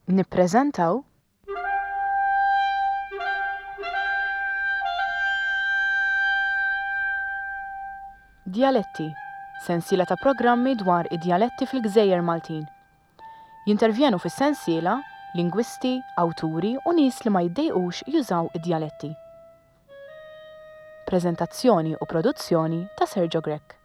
Nippreżentaw. Djaletti, sensiela ta' programmi dwar id-djaletti fil-gżejjer Maltin. Jintervjenu fis-sensiela lingwisti, awturi u nies li ma jiddejqux jużaw id-djaletti. Preżentazzjoni u produzzjoni ta' Sergio Grech.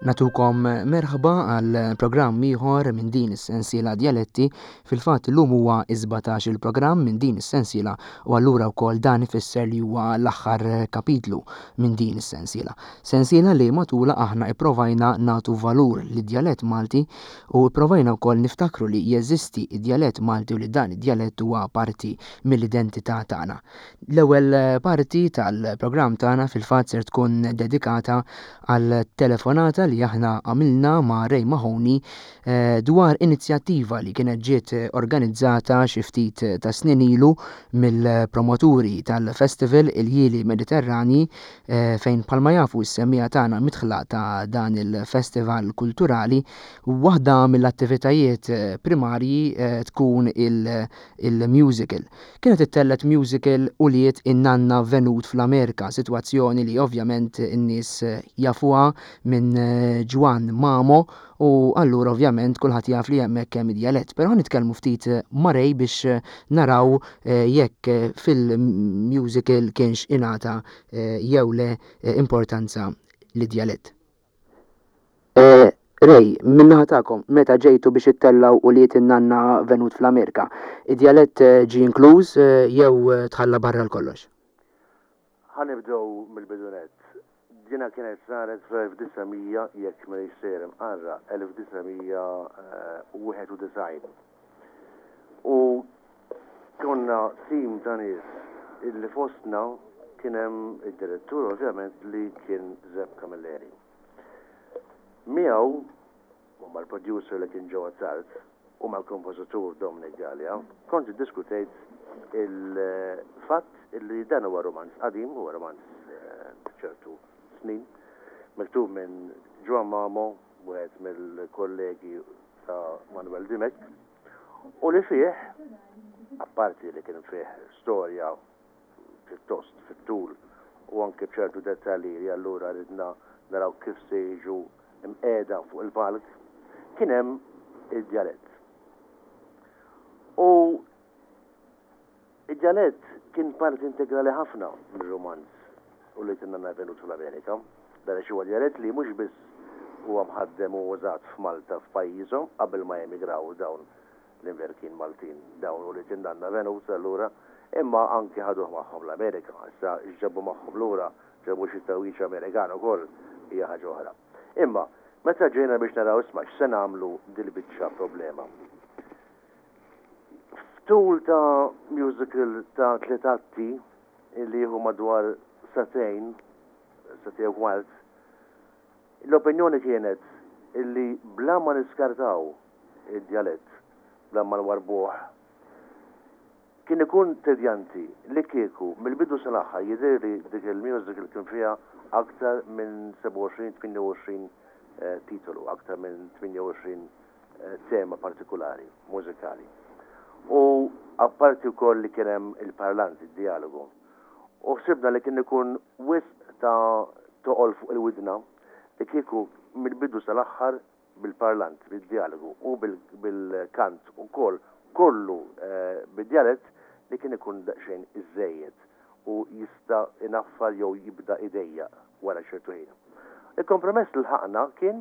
Natukom merħba għal programm ieħor minn din is-sensiela Djaletti. Fil-fatt illum huwa is-17 il-programm minn din is-sensiela u allura wkoll dan ifisser li huwa l-aħħar kapitlu minn din is-sensiela. Sensiela li matulha aħna ipprovajna nagħtu valur lid-djalett Malti u ipprovajna wkoll niftakru li jeżisti d-djalett Malti u li dan id-djalett huwa parti mill-identità tagħna. L-ewwel parti tal-programm tagħna fil-fatt ser tkun dedikata għal telefonata li aħna għamilna ma' Ray Mahoney eh, dwar inizjattiva li kienet ġiet organizzata xi ftit ta' snin ilu mill-promoturi tal-Festival il-Jili Mediterrani eh, fejn bħalma jafu s-semmiegħa tagħna midħla ta' dan il-festival kulturali waħda mill-attivitajiet eh, primarji tkun il-musical. Kienet ittellgħet musical Ulied in-Nanna Venut fl-Amerika, sitwazzjoni li ovvjament in-nies jafuha minn Ġwann Mamo u allura ovvjament kulħadd jaf li hemmhekk hemm id-djalett. Però ħa nitkellmu ftit ma' Ray biex naraw jekk fil-musical kienx ingħata jew le importanza lid-djalett. Ray, min-naħa tagħkom, meta ġejtu biex ittellgħu Ulied in-Nanna Venut fl-Amerika, id-djalett ġie inkluż jew tħalla barra għal kollox? Ħa nibdew mill-bidu nett. Dina kienet saret fl-1900, jekk m'iniex sejjer imqarraq, 1991. U konna tim ta' nies illi fostna kien hemm id-direttur ovvjament li kien Zepp Camilleri. Miegħu, u mal-producer li kien Joe Attard, u mal-kompożitur Dominic Galea, kont iddiskutejt il-fatt li dan huwa rumanz qadim, huwa rumanz ta' ċertu snin, miktub minn Joan Mamo, wieħed mill-kollegi ta' Manuel Dimech, u li fih, apparti li kien fih storja pjuttost fit-tul u anke b'ċertu dettalji li allura ridna naraw kif se jiġu mqiegħda fuq il-palk, kien hemm id-djalett. U id-djalett kien parti integrali ħafna mir-rumanz u li tinna Venut fl-Amerika. Dan għax huwa djalett li mhux biss huwa mħaddem u użat f'Malta f'pajjiżhom qabel ma emigraw dawn l-Imberkin Maltin dawn ulied in-nanna Venus allura, imma anki ħaduh magħhom l-Amerika. Issa x'ġabu magħhom lura, ġabu xi tgħawwiġ Amerikan ukoll, hija ħaġa oħra. Imma, meta ġejna biex naraw isma' x'se nagħmlu dil-biċċa problema. F'tul ta' musical ta' tliet atti li jieħu madwar sagħtejn, sagħtejn u kwart, l-opinjoni kienet illi bla ma niskartaw id-djalett bla ma nwarrbuh. Kien ikun tedjanti li kieku mill-bidu sal-aħħar jidhirli dik il-musical kien fiha aktar minn 27, 28 titolu, aktar minn 28 tema partikulari mużikali. U apparti wkoll li kien hemm il-parlant, id-djalogu. U ħsibna li kien ikun wisq ta' toqol fuq il-widna li kieku mill-bidu sal-aħħar bil-parlant, bid-djalogu u bil-kant ukoll kollu bid-djalett li kien ikun daqsxejn iżżejjed u jista' inaffar jew jibda idejjaq wara ċertu ħin. Il-kompromess li lħaqna kien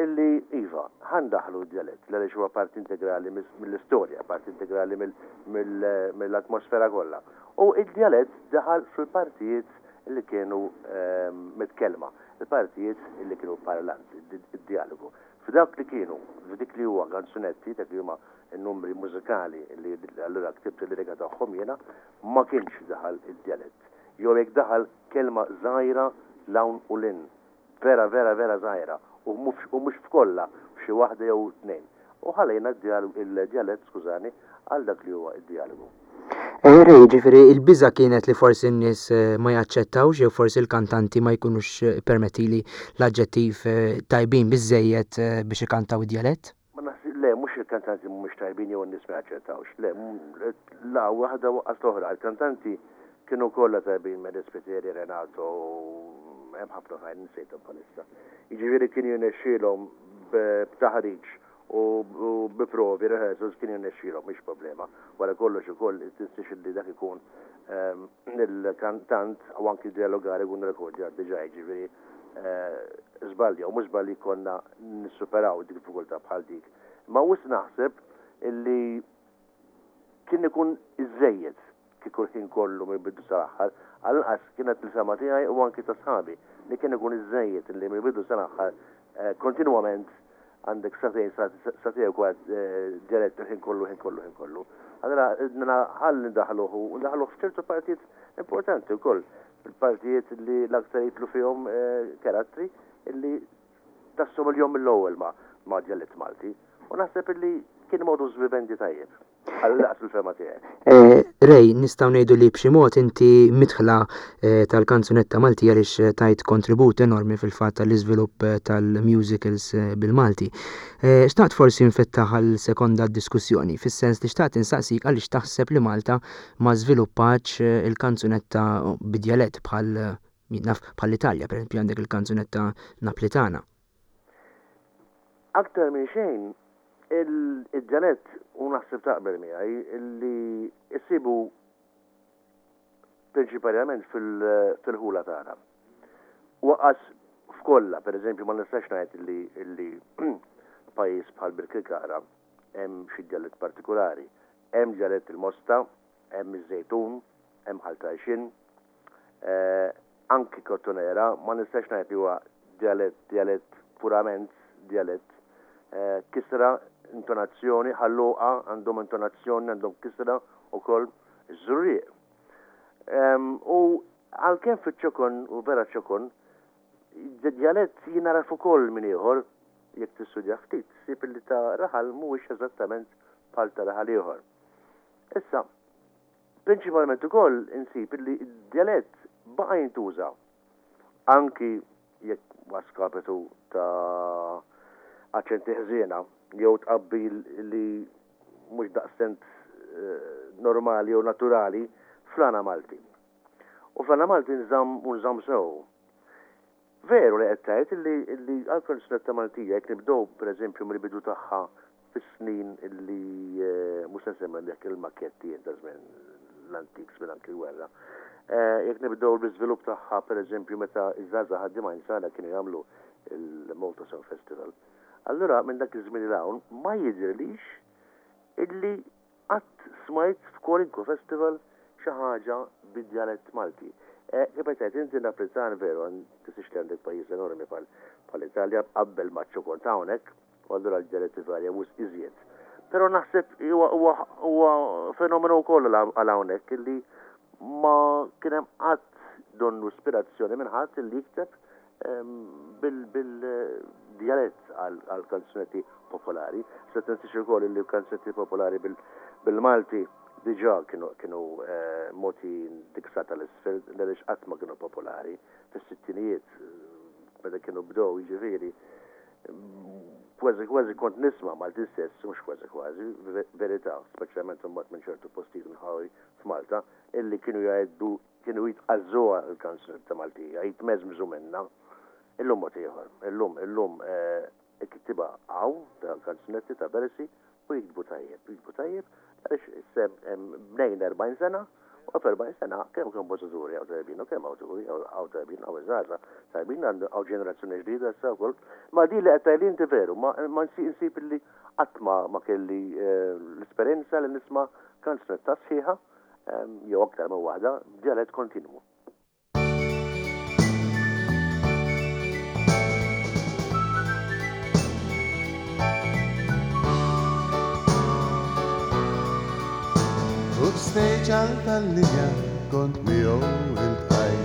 illi iva, ħa ndaħħlu d-djalett għaliex huwa parti integrali mill-istorja, parti integrali mill-atmosfera kollha. U d-djalett daħal fil-partijiet li kienu mitkellma. Il-partijiet li kienu parlant, id-djalogu. F'dawk li kienu, f'dik li huwa kanzunetti, dak li huma n-numri mużikali li allura ktibt il-lirika tagħhom jiena, ma kienx daħal id-djalett. Jew jekk daħal kelma żgħira 'l hawn u 'l hinn. Vera vera vera żgħira u mhux f'kollha, f'xi waħda jew tnejn. U ħallejna d-djalett, skużani, għal dak li huwa d-djalogu. Ray, jiġifieri l-biża' kienet li forsi n-nies ma jaċċettawx jew forsi l-kantanti ma jkunux, ippermettili l-aġġettiv, tajbin biżżejjed biex ikantaw id-djalett? Ma naħsibx, le, mhux il-kantanti mhumiex tajbin jew in-nies ma jaċċettawx. Le, la waħda u lanqas l-oħra. Il-kantanti kienu kollha tajbin, Mary Spiteri, Renato, hemm ħafna oħrajn insejthom bħalissa. Jiġifieri kien jirnexxielhom b'taħriġ u bi provi, rehearsals, kien jirnexxielhom, mhix problema. Wara kollox ukoll tinsiex li dak ikun il-kantant u anki d-dialogari jkun rekordjat diġà, jiġifieri żball jew mhux żball jkollna nissuperaw diffikultà bħal dik. Imma wisq naħseb illi kien ikun iżżejjed kieku l-ħin kollu mill-bidu sal-aħħar, għall-inqas kienet l-fehma tiegħi u anki ta' sħabi, li kien ikun iżżejjed illi mill-bidu sal-aħħar kontinwament għandek sagħtejn, sagħtejn u kwart djalett il-ħin kollu, ħin kollu, ħin kollu. Allura ridna ħalli ndaħħluh u ndaħħluh f'ċertu partijiet importanti wkoll, fil-partijiet li l-aktar jidħlu fihom karattri illi tassomilhom mill-ewwel ma' djalett Malti. U naħseb illi kien modus vivendi tajjeb. Għall-inqas fil-fehma tiegħi. Ray, nistgħu ngħidu li b'xi mod inti midħla tal-kanzunetta Maltija għaliex tajt kontribut enormi fil-fatt għall-iżvilupp tal-musicals bil-Malti. Xtaqt forsi nfettaħ għal sekonda d-diskussjoni, fis-sens li xtaqt insaqsik għaliex taħseb li Malta ma żviluppatx il-kanzunetta bid-djalett bħal, jien naf, bħall-Italja, pereżempju għandek il-kanzunetta Naplitana. Aktar minn xejn, id-djalett, u naħseb taqbel miegħi, li issibu prinċiparjament fil-ħula tagħna. U anqas f'kollha, pereżempju ma nistax ngħid li pajjiż bħal Birkirkara hemm xi djalett partikulari. Hemm djalett il-Mosta, hemm iż-Żejtun, hemm Ħal Tarxien, Anki Kottonera ma nistax ngħid li huwa djalett, djalett purament djalett. Kisra, intonazzjoni, Ħal Luqa għandhom intonazzjoni, għandhom kisra wkoll, iż-Żurrieq. U għalkemm fiċ-ċokon, u vera ċokon, djalett jingħaraf ukoll minn ieħor, jekk tistudjah ftit, ssib li ta' raħal mhuwiex eżattament bħal ta' raħal ieħor. Issa, Prinċipalment ukoll insib li d-djalett baqa' jintuża anki jekk a skapitu ta' aċċenti ħżiena jew tqabbil li mhux daqstant normali jew naturali fl-għana Malti. U fl-għana Malti nżamm u nżamm sew. Veru li qed tgħid illi illi għall-kanzunetta Maltija jekk nibdew pereżempju mill-bidu tagħha fis-snin illi mhux se nsemmi jekk il-makketti jien ta' żmien l-antik żmien anki l-gwerra. Jekk nibdew bl-iżvilupp tagħha pereżempju meta ż-żgħażagħ ħaddiema insara kienu jagħmlu l-Malta Song Festival. Allura minn dak iż-żmien 'l hawn ma jidhirlix illi Qatt smajt f'kwalunkwe festival xi ħaġa bid-djalett Malti. Kif qed tgħid inti Naplitan veru, tinsiex li għandek pajjiż enormi bħal-Italja qabbel maċ-ċokon ta' hawnhekk, u allura l-djaletti varjaw wisq iżjed. Però naħseb huwa fenomenu wkoll għal hawnhekk illi ma kien hemm qatt donnu ispirazzjoni minn ħadd illi jikteb bil-djalett għal kanzunetti popolari. Se tinsiex ukoll li kanzunetti popolari bil-Malti diġà kienu mogħtijin dik sa tal-isfel għaliex qatt ma kienu popolari fis-sittinijiet meta kienu bdew jiġifieri kważi kważi kont nisma' Malti stess, mhux kważi kważi, verità, speċjalment imbagħad minn ċertu postijiet inħawi f'Malta, illi kienu jgħidu Kienu jitqażżuha l-kanzunetta Maltija, jitmeżmżu minnha. Illum mod ieħor. Illum, illum il-kittieba hawn ta' kanzunetti, ta' versi u jiktbu tajjeb. Jiktbu tajjeb għaliex issa bnejna 40 sena u f'40 sena kemm kompożituri hawn tajbin u kemm awturi hawn tajbin, hawn iż-żgħażagħ tajbin, hawn ġenerazzjoni ġdida issa wkoll. Ma din li qed tgħidli inti veru, ma nsib illi qatt ma kelli l-esperjenza li nisma' kanzunetta sħiħa jew aktar minn waħda, b'djalett kontinwu. Fuq stage għal tal-linja kont miegħu iltqajt.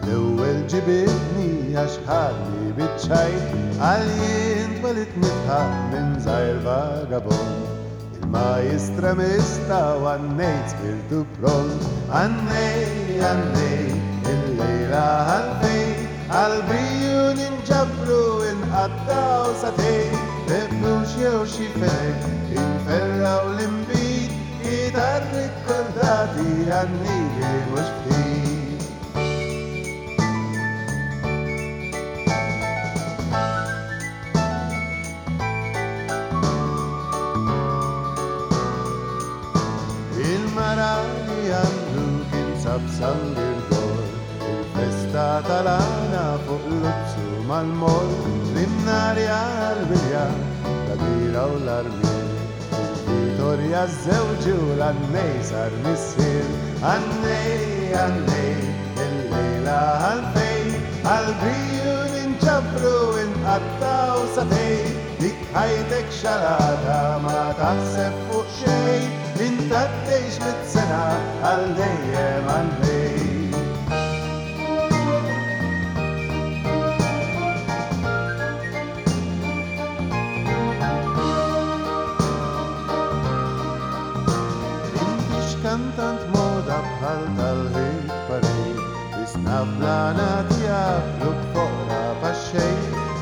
Għall-ewwel ġibidni għax ħadni biċ-ċajt. Għal jien twelidt nidħaq minn żgħir vagabond. ma jistremista u għannejt spirtu pront. Għannej, għannej, illejla għalfej, għall-briju ninġabru inqattgħu sagħtejn, bebbux jew xi fenek, inferrgħu l-inbid, kitarri kkordati għannili mhux ftit. Il-mara li għandu kien sab San Girgor, il-festa tal-għana fuq Luzzu mal-moll, l-imnarja għall-wirja, l-għadira u l-armier, il-Vitorja żewġu l-għannej sar missier. Għannej, għannej, illejla għalfejn, għall-briju ninġabru inqattgħu sagħtejn, dik ħajtek xalata ma taħseb fuq xejn, int għaddejx mit-sena għal dejjem għannej. Intix kantant moda bħal tal-hit parade, biss naf l-għana tiegħek fluk foqra paxxej,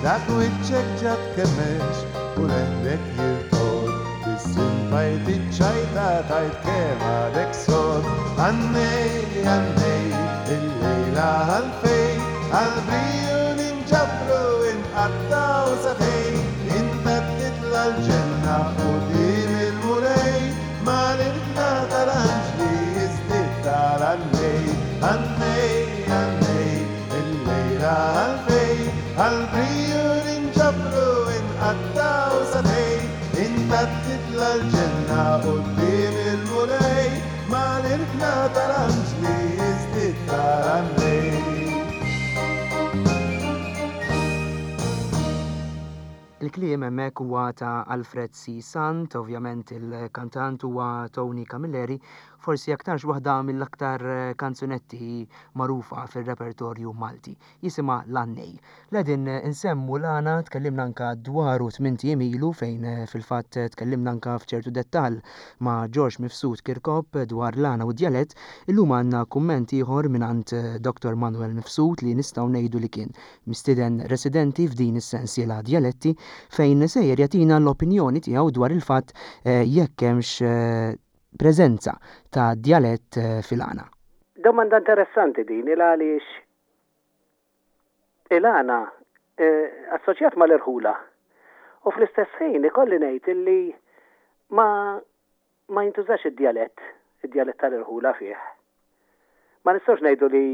dak wiċċek ġa tkemmex u leħnek jirtod, biss intajt iċ-ċajta tajt kemm għadek sod. Għannej, għannej, illejla għalfejn, għall-briju ninġabru inqattgħu sagħtejn, inta titla' l-ġenna quddiem il-Mulej, mal-ilħna tal-anġli jiżdied tal-għannej. Għannej, għannej, illejla għalfejn, għall-briju ninġabru inqattgħu sagħtejn, inta titla' l-ġenna quddiem il-Mulej, mal-ilħna tal-anġli jiżdied tal-għannej. Il-kliem hemmhekk huwa ta' Alfred C. Sant, ovvjament il-kantant huwa Tony Camilleri, forsi aktarx waħda mill-aktar kanzunetti magħrufa fir-repertorju Malti. Jisimha L-Għannej. L-qegħdin insemmu l-għana tkellimna anka dwaru tmint ijiem ilu fejn fil-fatt tkellimna anka f'ċertu dettall ma' George Mifsud Kirkop dwar l-għana u d-djalett. Illum għandna kumment ieħor mingħand Dottor Manuel Mifsud li nistgħu ngħidu li kien mistieden residenti f'din is-sensiela Djaletti fejn sejjer jagħtina l-opinjoni tiegħu dwar il-fatt jekk hemmx preżenza ta' djalett fil-għana. Domanda interessanti din il għaliex il-għana assoċjat mal-irħula u fl-istess ħin ikolli ngħid illi ma ma jintużax id-djalett, id-djalett tal-irħula fih. Ma nistgħux ngħidu li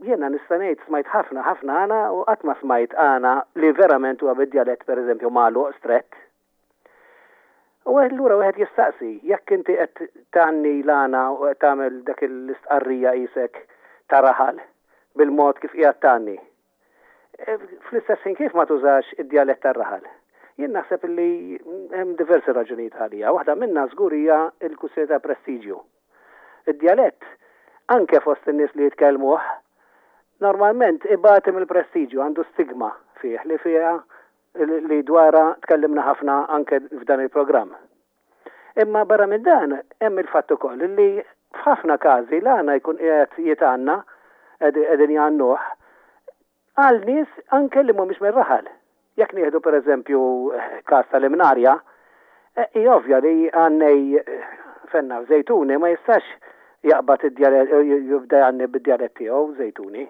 jiena nista' ngħid smajt ħafna ħafna għana u qatt ma smajt għana li verament huwa bid-djalett pereżempju magħluq strett. U allura wieħed jistaqsi, jekk inti qed tgħanni l-għana u qed tagħmel dak l-istqarrija qisek ta' raħal bil-mod kif qiegħed tgħanni, Fl-istess ħin kif ma tużax id-djalett tar-raħal? Jien naħseb li hemm diversi raġunijiet għaliha. Waħda minnha żgur hija l-kwistjoni ta' prestiġju. Id-djalett, anke fost in-nies li jitkellmuh, normalment ibati mill-prestiġju, għandu stigma fih li fiha li dwarha tkellimna ħafna anke f'dan il-programm. Imma barra minn dan hemm il-fatt ukoll li f'ħafna każi l-għana jkun qiegħed jitgħanna, qegħdin jgħannuh, għal nies anke li mhumiex mir-raħal. Jekk nieħdu pereżempju każ tal-Imnarja, hi ovvja li għannej fenna f'Żejtuni ma jistax jaqbad id-djalett jibda jgħanni bid-djalett tiegħu Żejtuni.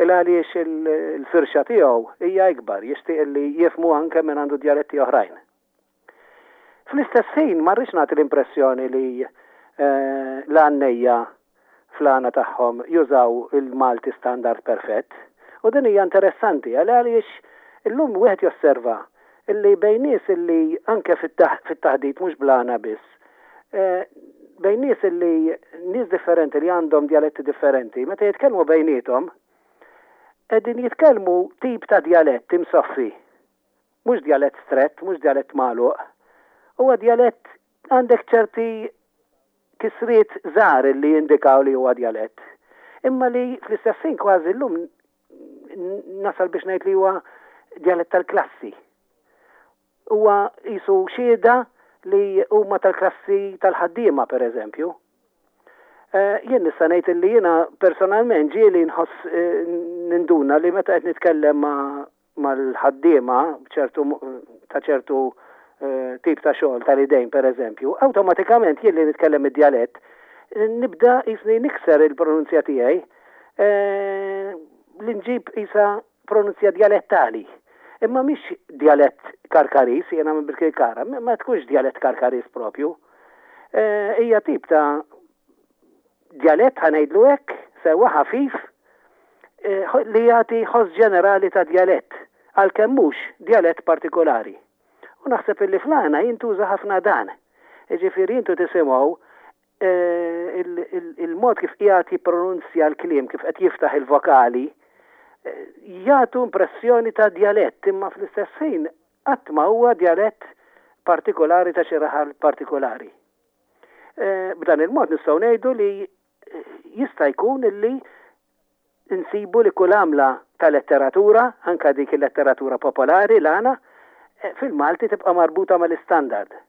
Il għaliex il-firxa tiegħu hija ikbar, jixtieq li jifhmu anke min għandu djaletti oħrajn. Fl-istess ħin ma rridx nagħti l-impressjoni li l-għannejja fl-għana tagħhom jużaw il-Malti standard perfett. U din hija interessanti għaliex illum wieħed josserva illi bejn nies illi anke fit-taħdit mhux bl-għana biss, bejn nies illi nies differenti li għandhom djaletti differenti, meta jitkellmu bejniethom qegħdin jitkellmu tip ta' djalett imsoffi. Mhux djalett strett, mhux djalett magħluq. Huwa djalett għandek ċerti kisriet żgħar li jindikaw li huwa djalett. Imma li fl-istess ħin kważi llum nasal biex ngħid li huwa djalett tal-klassi. Huwa qisu xhieda li huma tal-klassi tal-ħaddiema pereżempju. Jien nista' ngħid li jiena personalment ġieli nħoss ninduna li meta qed nitkellem ma' mal-ħaddiema b'ċertu ta' ċertu tip ta' xogħol tal-idejn pereżempju, awtomatikament jien li nitkellem id-djalett nibda qisni nikser il-pronunzja tiegħi li nġib qisha pronunzja djalettali. Imma mhix djalett Karkariż, jiena minn Birkirkara, ma tkunx djalett Karkariż propju. Hija tip ta' djalett ħa ngħidlu hekk, sewwa ħafif, li jagħti ħoss ġenerali ta' djalett, għalkemm mhux djalett partikolari. U naħseb illi fl-għana jintuża ħafna dan. Jiġifieri intu tisimgħu il-mod kif qiegħed jippronunzja l-kliem, kif qed jiftaħ il-vokali, jagħtu impressjoni ta' djalett, imma fl-istess ħin qatt ma huwa djalett partikolari ta' xi raħal partikolari. B'dan il-mod nistgħu ngħidu li jista' jkun illi nsibu li kull għamla ta' letteratura, anke dik il-letteratura popolari, l-għana, fil-Malti tibqa' marbuta mal-istandard.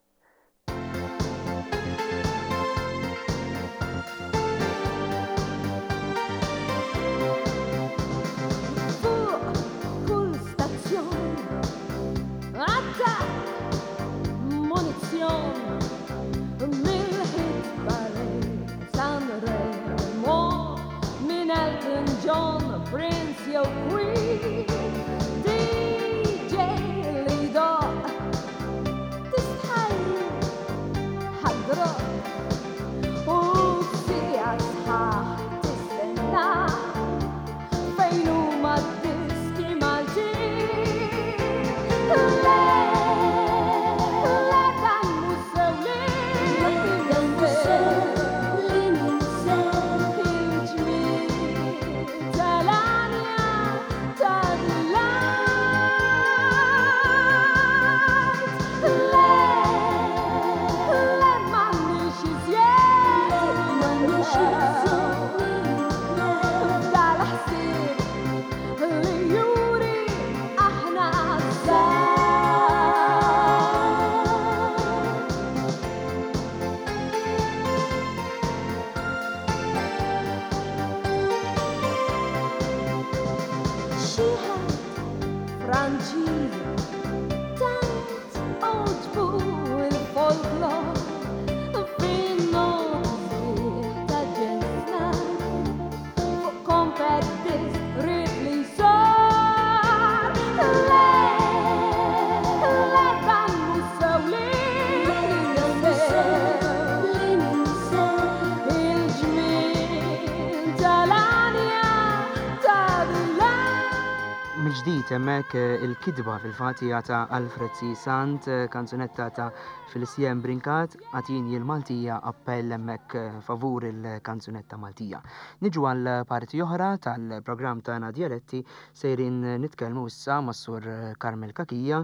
Mill-ġdid hemmhekk il-kitba fil-fatt hija ta' Alfred C. Sant, kanzunetta ta' Felicien Brincat, Agħtini l-Maltija, appell hemmhekk favur il-kanzunetta Maltija. Niġu għal parti oħra tal-programm tagħna Djaletti, sejrin nitkellmu issa mas-Sur Carmel Cachia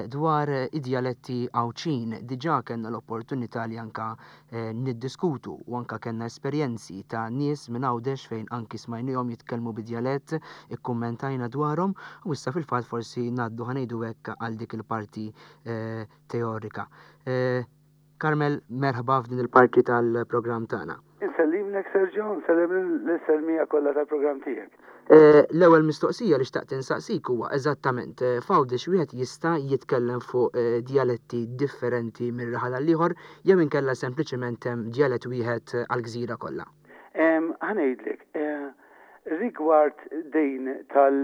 dwar id-djaletti Għawdxin. Diġà kellna l-opportunità li anka niddiskutu u anka kellna esperjenzi ta' nies minn Għawdex fejn anki smajnihom jitkellmu bid-djalett, ikkummentajna dwarhom u issa fil-fatt forsi ngħaddu ħa ngħidu hekk għal dik il-parti teorika. Carmel, merħba f'din il-parti tal-programm tagħna. Insellimlek Sergio, nsellem lis-selmija kollha tal-programm tiegħek. L-ewwel mistoqsija li xtaqt insaqsik huwa eżattament f'Għawdex wieħed jista' jitkellem fuq djaletti differenti minn raħal għal ieħor jew inkella sempliċement hemm djalett wieħed għall-gżira kollha? Ħa ngħidlek, rigward din tal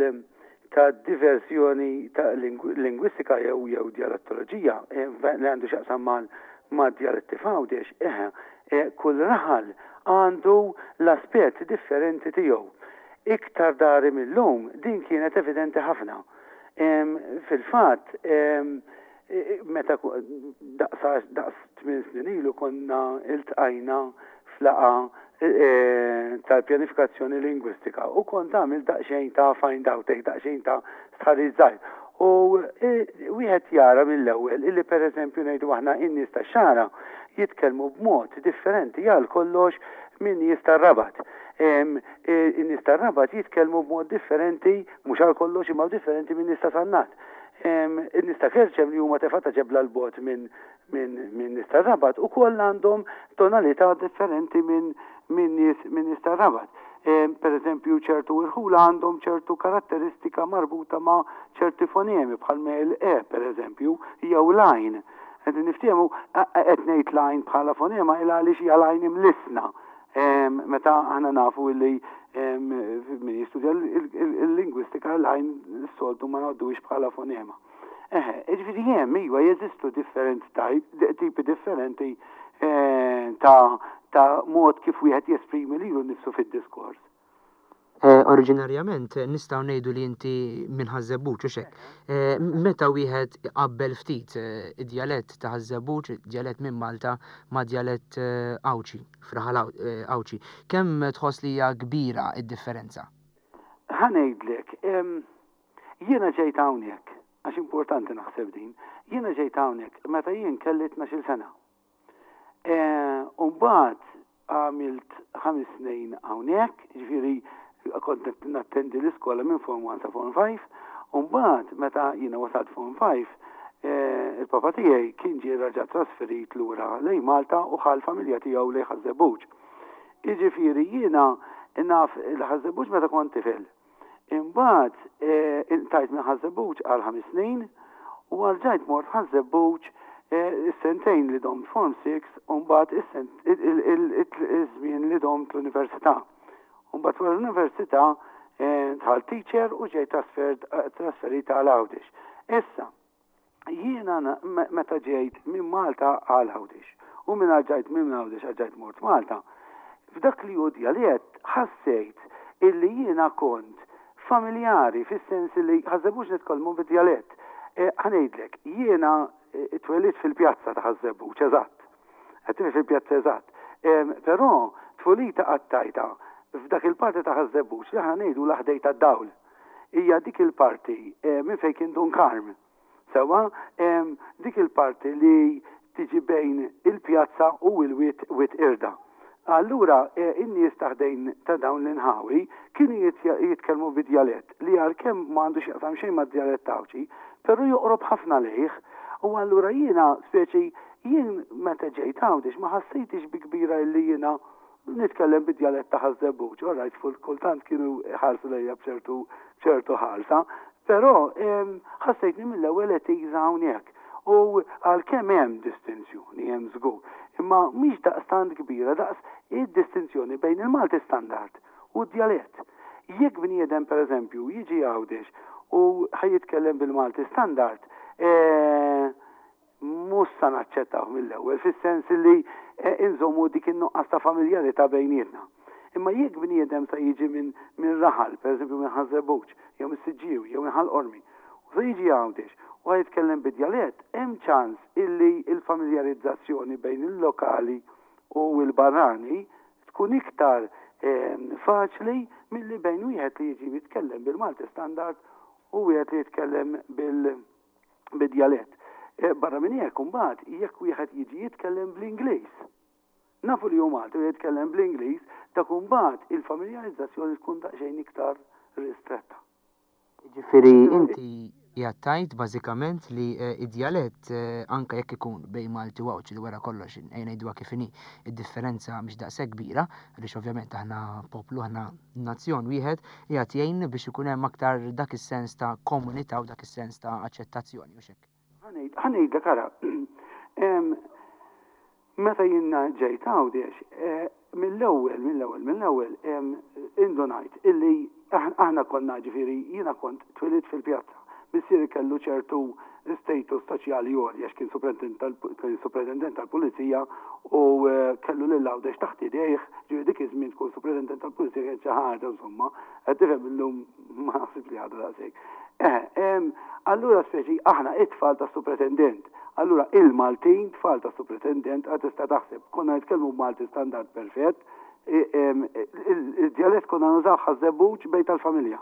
ta' diversjoni ta' lingwistika jew jew djalettoloġija li għandu x'jaqsam mal mad-djaletti f'Għawdex, eħe, kull raħal għandu l-aspett differenti tiegħu. Iktar dari mil-lum din kienet evidenti ħafna. Fil-fatt, Meta daqs daqs tmien snin ilu konna iltqajna f'laqgħa tal-pjanifikazzjoni lingwistika u kont għamilt daqsxejn ta' find out hekk daqsxejn ta' stħarriġ żgħir. U wieħed jara mill-ewwel illi pereżempju ngħidu aħna in-nies tax-Xagħra jitkellmu b'mod differenti għal kollox minn nies tar-Rabat. In-nies tar-Rabat jitkellmu b'mod differenti, mhux għal kollox imma differenti minn nies ta' Sannat. In-nies ta' Kerċem li huma tefgħa ta' ġebla 'l bogħod minn minn nies tar-Rabat ukoll għandhom tonalità differenti minn minn nies minn nies tar-Rabat. Per eżempju, ċertu irħula għandhom ċertu karatteristika marbuta ma' ċerti fonemi bħal me l-e per eżempju, jew l-għajn. Qed niftehmu qed ngħid l-għajn bħala fonema il għaliex hija l-għajn imlissna. Meta aħna nafu li min jistudja il-lingwistika l-għajn s-soltu ma ngħodduhiex bħala fonema. Eħe, jiġifieri hemm iva jeżistu differenti type, tipi differenti eh, ta' ta' mod kif wieħed jesprimi lilu nnifsu fid-diskors. Eh, oriġinarjament nistgħu ngħidu li inti minn Ħaż-Żebbuġ u xek. Eh, meta wieħed iqabbel ftit id-djalett ta' Ħaż-Żebbuġ, djalett minn Malta ma' djalett Għawdxi, f'raħal Għawdxi, kemm tħoss li hija kbira d-differenza? Ħa ngħidlek, Jiena ġejt hawnhekk, għax importanti naħseb din, jiena ġejt hawnhekk meta jien kelli 12-il sena. E, u mbagħad għamilt ħames snin hawnhekk, ġifieri kont nattendi l-iskola minn Form 1 sa Form 5, u mbagħad meta jiena wasalt Form 5, e, il-papa tiegħi kien ġie raġa' trasferit lura lejn Malta u ħa l-familja tiegħu lejn Ħaż-Żebbuġ. Jiġifieri jiena naf il-Ħaż-Żebbuġ meta kont tifel. Imbagħad inqtajt minn Ħaż-Żebbuġ għal ħames snin u rġajt mort Ħaż-Żebbuġ is-sentejn li domt Form 6 u mbagħad iż-żmien li domt l-università. U mbagħad wara l-università dħalt teacher u ġejt trasferita għal Għawdex. Issa, Jiena meta ġejt minn Malta għal Għawdex u minn rġajt minn Għawdex rġajt mort Malta, f'dak li hu djalett ħassejt illi jiena kont familjari fis-sens li Ħaż-Żebbuġ nitkellmu bid-djalett. Eh, ħa ngħidlek, jiena eh, twelidt fil-pjazza ta' Ħaż-Żebbuġ, eżatt. Qed fil-pjazza eżatt. Però tfulita qattajta f'dak il-parti ta' Ħaż-Żebbuġ li aħna ngħidu l-ħdej tad-dawl. Hija dik il-parti eh, minn fejn kien Dun Karm. Sewwa, dik il-parti li tiġi bejn il-pjazza u l-wied Wied Qirda. Allura eh, in-nies ta' ħdejn ta' dawn l-inħawi kienu jitkellmu bi djalett li għalkemm ma għandu x'jaqsam xejn mad-djalett Għawdxi, però joqrob ħafna lejh. U allura jiena speċi jien meta ġejt Għawdex ma ħassejtix bi kbira illi jiena Nitkellem bid-djalett ta' Ħaż-Żebbuġ, all right, kultant kienu jħarsu lejja b'ċertu b'ċertu ħarsa, però ħassejtni mill-ewwel at ease hawnhekk. U għalkemm hemm distinzjoni, hemm żgur, imma mhix daqstant kbira daqs id-distinzjoni bejn il-Malti standard u d-djalett. Jekk bniedem pereżempju jiġi Għawdex u ħa jitkellem bil-Malti standard, mhux sa naċċettawh mill-ewwel, fis-sens li inżommu dik in-nuqqas ta' familjarità bejnietna. Imma jekk bniedem sa jiġi minn min raħal, pereżempju minn Ħaż-Żebbuġ, jew mis-Siġġiewi, jew minn Ħal Qormi, u sa jiġi Għawdex u ħa jitkellem bid-djalett, hemm ċans illi l-familjarizzazzjoni bejn il-lokali u l-barrani tkun iktar faċli milli bejn wieħed li jiġi jitkellem bil-Malti standard u wieħed li jitkellem bil bid-djalett. Eh, barra minn hekk imbagħad jekk wieħed jiġi jitkellem bl-Ingliż. Nafu li hu Malti u jitkellem bl-Ingliż, dak imbagħad il-familjarizzazzjoni tkun daqsxejn iktar ristretta. Ġifieri inti qiegħed tgħid bażikament li eh, id-djalett eh, anke jekk ikun bejn Malti u Għawdxi li wara kollox ejja ngħiduha kif inhi, id-differenza mhix daqshekk kbira, għaliex ovvjament aħna poplu aħna nazzjon wieħed qiegħed jgħin biex ikun hemm aktar dak is-sens ta' komunità u dak is-sens ta' aċċettazzjoni u x'hekk. Ħa ngħidlek ara, meta jiena ġejt Għawdex, eh, mill-ewwel, mill-ewwel, mill-ewwel indunajt illi aħna konna ġifieri jiena kont twilidt fil-pjazza. Missieri kellu ċertu status soċjali għoli għax kien supretendent tal-pulizija u eh, kellu lil Għawdex taħt idejh, ġifieri dik iż-żmien tkun supretendent tal-pulizija kien xi ħaġa insomma, qed tifhem illum ma naħsibx li għadha daqshekk. Eh, allura speċi aħna it-tfal tas-supretendent. Allura il-Maltin tfal tas-supretendent għad tista' taħseb konna nitkellmu b'Malti standard perfett, il-djalett konna nużaw Ħaż-Żebbuġ bejn tal-familja.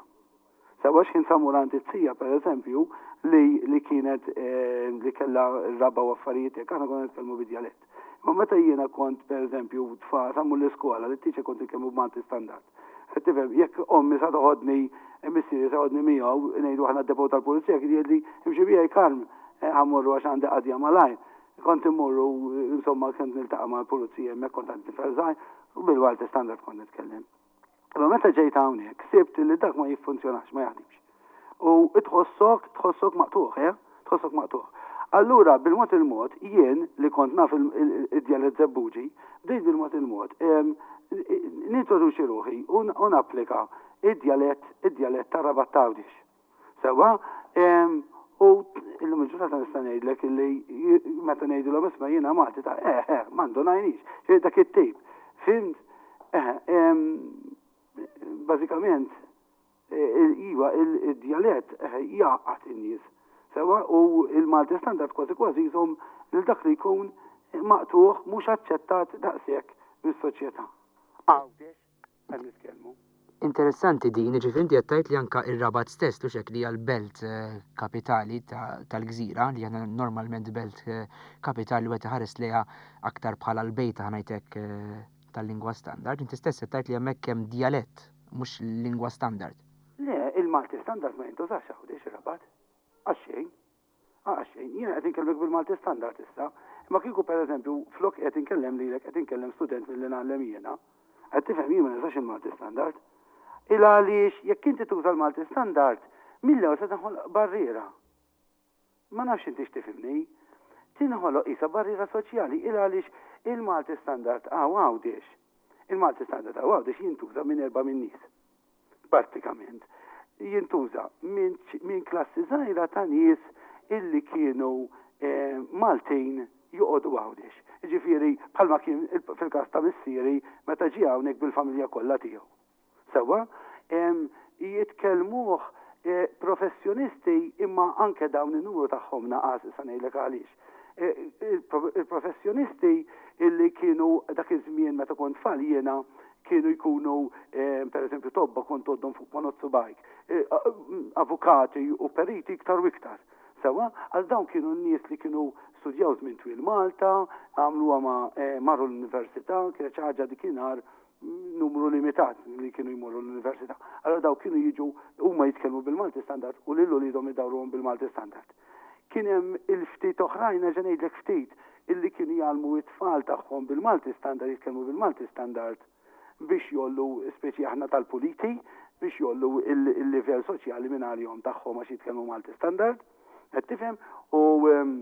Sewwa x'ħin sa mur għand it-tija pereżempju li li kienet eh, li kellha raba u affarijiet hekk aħna konna nitkellmu bid-djalett. Imma meta jiena kont pereżempju tfa sa mur l-iskola li t-teacher kont nitkellmu b'Malti standard. Qed tifhem, jekk ommi sa toħodni, missieri sa joħodni miegħu, ngħidu aħna d-depot tal-pulizija, kien jgħidli imxi miegħi Karm, ħa mmorru għax għandi qadja malajr. Kont immorru, insomma, kont niltaqa' mal-pulizija hemmhekk kont għadni tifel żgħir, u bil-Malti standard kont nitkellem. Imma meta ġejt hawnhekk, sibt li dak ma jiffunzjonax, ma jaħdimx. U tħossok, tħossok maqtugħ, eh? Tħossok maqtugħ. Allura, bil-mod il-mod, jien li kont naf id-djalett Żebbuġi, bdejt bil-mod il-mod nintroduċi ruħi u napplika id-djalett, id-djalett tar-Rabat t'Għawdex. Sewwa? U illum il-ġurnata nista' ngħidlek illi meta ngħidilhom isma' jiena Malti ta' eh, eh, ma ndunajniex. Dak it-tip. Fhimt? Eh, bażikament, Iva, id-djalett jgħaqqad in-nies. Sewwa, u l-Malti Standard kważi kważi jżomm lil dak li jkun maqtugħ, mhux aċċettat daqshekk mis-soċjetà. Għawdex qed nitkellmu. Interessanti din, jiġifieri inti qed tgħid li anke r-Rabat stess, hux hekk, li hija l-belt kapitali tal-gżira, li aħna normalment belt kapitali wieħed iħares lejha aktar bħala l-bejta ħa ngħid hekk tal-lingwa standard, inti stess qed tgħid li hemmhekk hemm djalett mhux lingwa standard. Le, il-Malti standard ma jintużax Għawdex, ir-Rabat. Għax xejn. Għax xejn. Jiena qed inkellmek bil-Malti standard issa. Imma kieku pereżempju flok qed inkellem lilek qed inkellem student milli ngħallem jiena. Qed tifhem jien ma nużax il-Malti standard. Il għaliex jekk inti tuża l-Malti standard, mill-ewwel se tinħoloq barriera. Ma nafx intix tifhimni. Tinħoloq qisha barriera soċjali il għaliex il-Malti standard hawn Għawdex. Il-Malti standard hawn Għawdex jintuża minn erbgħa min-nies. Prattikament. Jintuża minn min klassi żgħira ta' nies illi kienu eh, Maltin joqogħdu Għawdex. Ġifieri bħalma kien fil-każ ta' missieri meta ġie hawnhekk bil-familja kollha tiegħu. Sewwa, jitkellmuh professjonisti imma anke dawn in-numru tagħhom naqas, issa ngħidlek għaliex. Il-professjonisti illi kienu dak iż-żmien meta kont tfal jiena kienu jkunu pereżempju tobba kont tgħoddhom fuq ponot subgħajk, avukati u periti iktar u iktar. Sewwa, għal dawn kienu n-nies li kienu studjaw żmien twil Malta, għamluha ma' marru l-università, kienet xi ħaġa dikinhar numru limitat li kienu jmorru l-università. Allora daw kienu jiġu huma jitkellmu bil-Malti standard u lil uliedhom idawruhom bil-Malti standard. Kien hemm il-ftit oħrajn nerġa' ngħidlek ftit illi kienu jgħallmu it-tfal tagħhom bil-Malti standard jitkellmu bil-Malti standard biex jollu speċi aħna tal-puliti biex jollu il-livell soċjali minn għalihom tagħhom għax jitkellmu Malti standard. Qed tifhem? U ehm,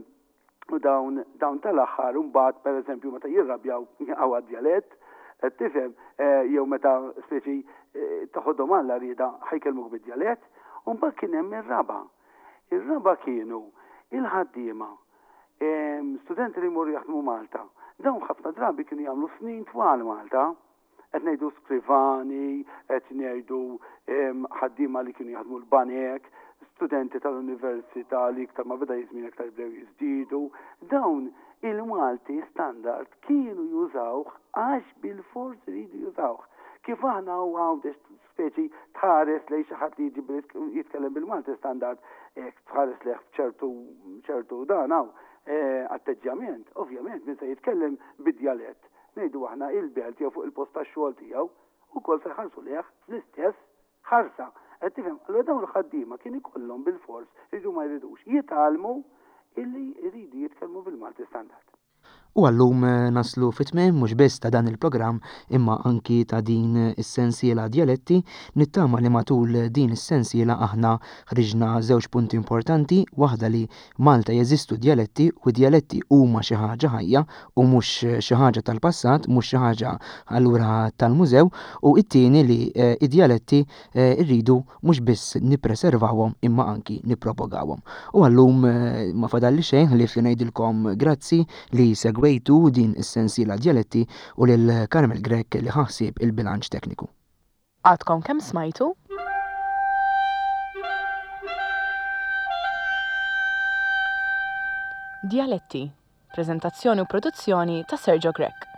U dawn, dawn tal-aħħar imbagħad pereżempju meta jirrabjaw jaqgħu għad-djalett, qed tifhem, eh, jew meta speċi eh, toħodhom għal rieda ħajkellmuk bid-djalett, u mbagħad kien hemm ir-raba'. Ir-raba' kienu il-ħaddiema, ehm, studenti li jmorru jaħdmu Malta. Dawn ħafna drabi kienu jagħmlu snin twal Malta. Qed ngħidu skrivani, qed ngħidu ħaddiema li kienu jaħdmu l-banek, studenti tal-università li iktar ma beda jiżmien iktar bdew jiżdiedu. Dawn il-Malti standard kienu jużawh għax bilfors iridu jużawh. Kif aħna u Għawdex speċi tħares lejn xi ħadd li jiġi jitkellem bil-Malti standard, hekk tħares lejh b'ċertu ċertu dan hawn eh, atteġġjament, ovvjament min se jitkellem bid-djalett ngħidu aħna, il-belt jew fuq il-post tax-xogħol tiegħu, ukoll se jħarsu lejh bl-istess ħarsa. Qed tifhem? Allura dawn il-ħaddiema kien ikollhom bilfors, iridu ma jridux, jitgħallmu illi jridu jitkellmu bil-Malti standard. U għal-lum naslu fit-tmiem mhux biss ta' dan il-programm imma anki ta' din is-sensiela Djaletti. Nittama li matul din is-sensiela aħna ħriġna żewġ punti importanti, waħda li Malta jeżistu djaletti u d-djaletti huma xi ħaġa ħajja u mhux xi ħaġa tal-passat, mhux xi ħaġa allura tal-mużew, u t-tieni li d-djaletti rridu mhux biss nippreservawhom imma anki nippropagawhom. U għallum ma fadalli xejn ħlief li ngħidilkom grazzi li segwejtu din is-sensiela Djaletti u lil Carmel Grech li ħa ħsieb il-bilanċ tekniku. Għadkom kemm smajtu? Djaletti, preżentazzjoni u produzzjoni ta' Sergio Grech.